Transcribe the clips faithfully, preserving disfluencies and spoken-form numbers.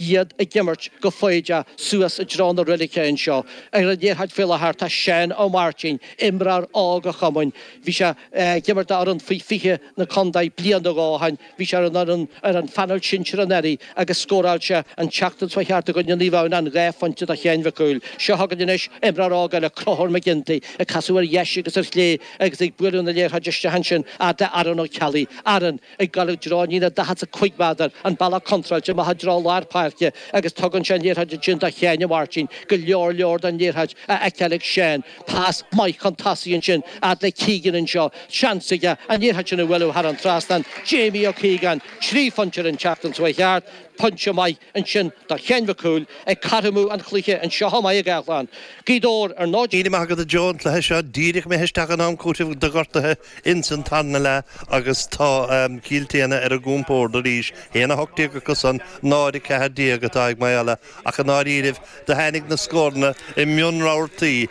Iad ag imirt go foighdeach suas i dtreo na reilige anseo. Ar an liathróid faoi láthair tá Seán Ó Máirtín, imreoir óg an chumainn. Bhí sé ag imirt d'fhoireann faoi fiche na contae bliain nó dhó ó shin. Bhí sé ar an fhoireann ar an phainéal sinsir anuraidh agus scóráil sé an tseachtain seo thart i gcoinne Naomh Adhamhnáin dhá phointe do Sheán Mhic Cumhaill. Seo chugainn anois imreoir óg eile, Conchúr McGinty, ag casadh ar dheis agus ar chlé agus ag bualadh na liathróide isteach ansin fhad le Aaron Ó Ceallaigh. Aaron ag dul i dtreo an líne daichead is a cúig méadar, an bealach contráilte amach i dtreo lár páirce agus tugann sé an liathróid ansin do Sheáin Mháirtín. Go leor leor den liathróid á fheiceáil ag Seán. Pas maith chun tosaigh ansin fhad le Keegan anseo. Seans aige an liathróid sin a bhualadh thar an trasnán. Jamie Ó Cíogáin, trí phointe ar an tseachtain seo thart. Pointe maith ansin do Sheán Mhic Cumhaill ag cothromú an chluiche anseo chomh maith i gCaisleán Ghaoth Dobhair ar náid. Míle maith agat a Joe, an cluiche seo díreach imithe isteach in am cúitimh do ghortuithe ins an tarna leath agus tá Cill tSéadhna ar a gcompord arís, haon a hocht déag acu san, náid a ceathair déag atá ag Maigh Eala ach i ndáiríribh do tháinig na scóranna i mionrabhartaí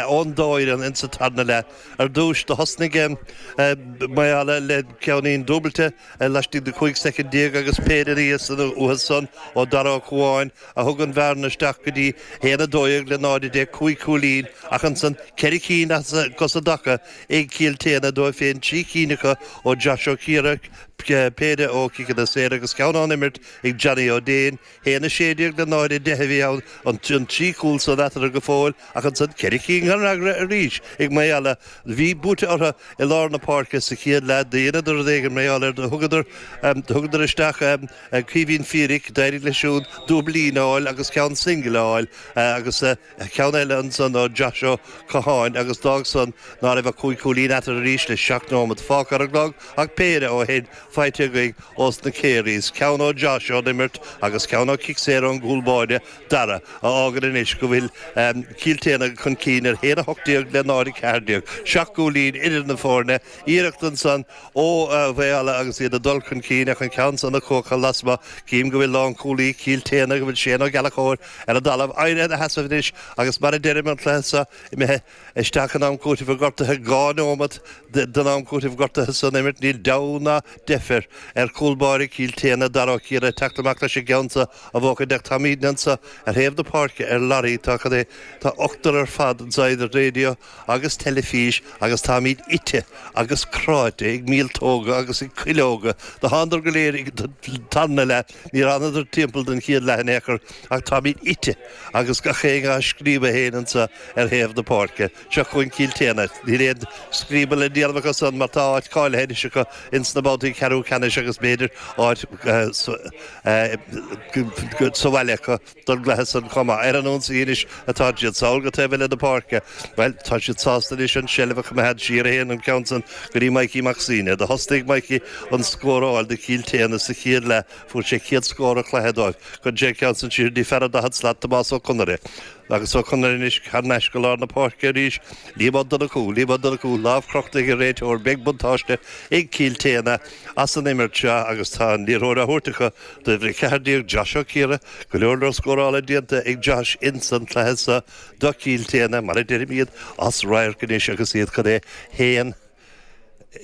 ón dá fhoireann ins an tarna leath. Ar dtúis do thosnaigh Maigh Eala le ceainnín dúbailte laistigh de cúig soicind déag agus péire aníos uathu san ó Dara Ó Cuáin a thug an bhearna isteach go dtí haon a dó dhéag le náid a deich, cúig chúilín ach ansan ceithre cinn as an dtaca ag Cill tSéadhna dóibh féin, trí cinn acu ó Josh Ó Ciara, péire ó chiceanna saora agus ceann ón imirt ag Johnny Ó Déin. Haon a sé déag le náid a deich a bhí ann, an trí chúl san eatarthu go fóill ach ansan ceithre cinn gan fhreagra arís ag Maigh Eala. Bhí buaite orthu i lár na páirce sa chéad leath. Dheineadar rud éigin mar gheall air. Do thugadar do thugadar isteach Caoimhín Feerick, d'éirigh leis siúd dúiblín a fháil agus ceann single a fháil agus ceann eile ansan ó Josh Ó Catháin agus d'fhág san ná raibh ach cúig chúilín eatarthu arís le seacht nóiméad fágtha ar an gclog ach péire ó shin faighte againn ós na Careys, ceann ó Josh ón imirt agus ceann ó chic saor ón gcúl báire, Dara, a fhágann anois go bhfuil Cill tSéadhna chun cinn ar haon a hocht déag le náid a ceathair déag. Seacht gcúilín idir na foirne. Iarracht ansan ó Mhaigh Eala agus iad ag dul chun cinn ach an ceann san ag cuachadh lasmuigh. Cím go bhfuil lánchúlaí Chill tSéadhna, go bhfuil Shane Ó Gallchóir ar an dtalamh, éirithe ina sheasamh anois agus mar a deirim an cluiche seo imithe isteach in am cúitimh gortaithe, dhá nóimeat den am cúitimh gortaithe san imirt. Níl deabhadh ná deifir ar chúl báire Chill tSéadhna, Dara Ó Ciara, teacht amach leis an gceann seo a bhuachaint ach táimidne anso ar thaobh na páirce ar lorry, tá cad é, tá ochtar ar fad anso idir raidió agus teilifís agus táimid ite agus cráite ag míoltóga agus ag cuileoga. Do thánadar go léir ag an tarna leath, níor fhanadar timpeall don chéad leath in aon chor ach táimid ite agus gach éinne á scríobadh féin anso ar thaobh na páirce. Seo chugainn Cill tSéadhna. Níl aon scríobadh le déanamh acu san mar tá áit cáilithe anois acu ins na babhtaí ceathrú ceannais agus b'fhéidir áit sa bhaile acu don gcluiche san chomh maith. Ar an ionsaí anois atá siad. Sall go taobh eile na páirce. Bhuel, tá siad sásta anois an tseilbh a choimeád siar a théann an ceann san go dtí Mikey Mac Suibhne. Do thosnaigh Mikey an scóráil do Chill tSéadhna sa chéad leath. Fuair sé chéad scór an chluiche dóibh. Cuireann sé an ceann san siar go dtí fear an daichead slat, Tomás Ó Conaire. Agus Ó Conaire anois thar n-ais go lár na páirce arís. Liam Ó Donnchú, Liam Ó Donnchú, lámh crochta ag an réiteoir. Beidh buntáiste ag Cill tSéadhna as an imirt seo agus tá an liathróid á thabhairt acu d'uimhir a ceathair déag, Josh Ó Ciara. Go leor leor scórála déanta ag Josh ins an cluiche seo do Chill tSéadhna, mar a deirim iad as radharc anois agus iad chun é haon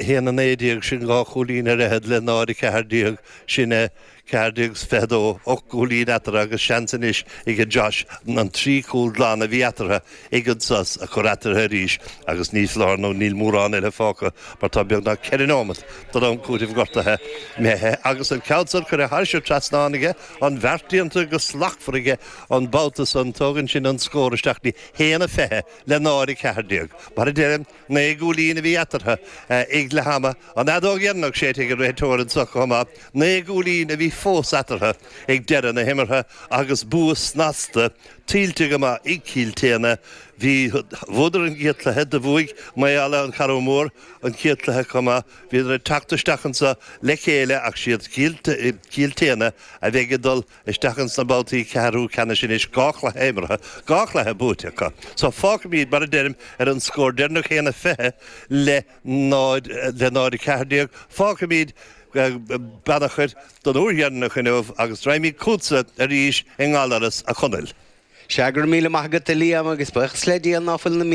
haon a naoi déag, sin dhá chúilín ar fhichead le náid a ceathair déag, sin é ceathair déag is fiche dó, ocht gcúilín eatarthu agus seans anois ag Josh an trí chúl glan a bhí eatarthu ag an sos a chur eatarthu arís agus ní foláir nó níl mórán eile fágtha mar tá beagnach ceithre nóimeat den am cúitimh gortaithe imithe agus an ceann san curtha thairis an trasnán aige, an bheart déanta go slachtmhar aige an babhta san, tógann sin an scór isteach go dtí haon a fiche le náid a ceathair déag. Mar a deirim, naoi gcúilín a bhí eatarthu ag leath ama, an fheadóg dheireanach séidte ag an réiteoir anseo chomh maith, naoi gcúilín a bhí fós eatarthu ag deireadh na himeartha agus bua snasta tuillte go maith ag Cill tSéadhna. Bhí, bhuadar an chéad chluiche, do bhuaigh Maigh Eala an Carrach Mór an chéad chluiche chomh maith. Bhíodar ag teacht isteach anseo le chéile ach siad Cill tSéadhna a bheidh ag dul isteach ins na babhtaí ceathrú ceannais anois, dhá chluiche imeartha, dhá chluiche buaite acu. So fágfaimid, mar a deirim, ar an scór deireanach haon a fiche le náid le náid a ceathair déag. Fágfaimid Beannchar don uair dheireanach inniu agus raghaimid chugatsa arís i nGallaras, a Chonaill. Sea, go raibh míle maith agat, a Liam, agus buíochas le Dia ná fuil na míoltóga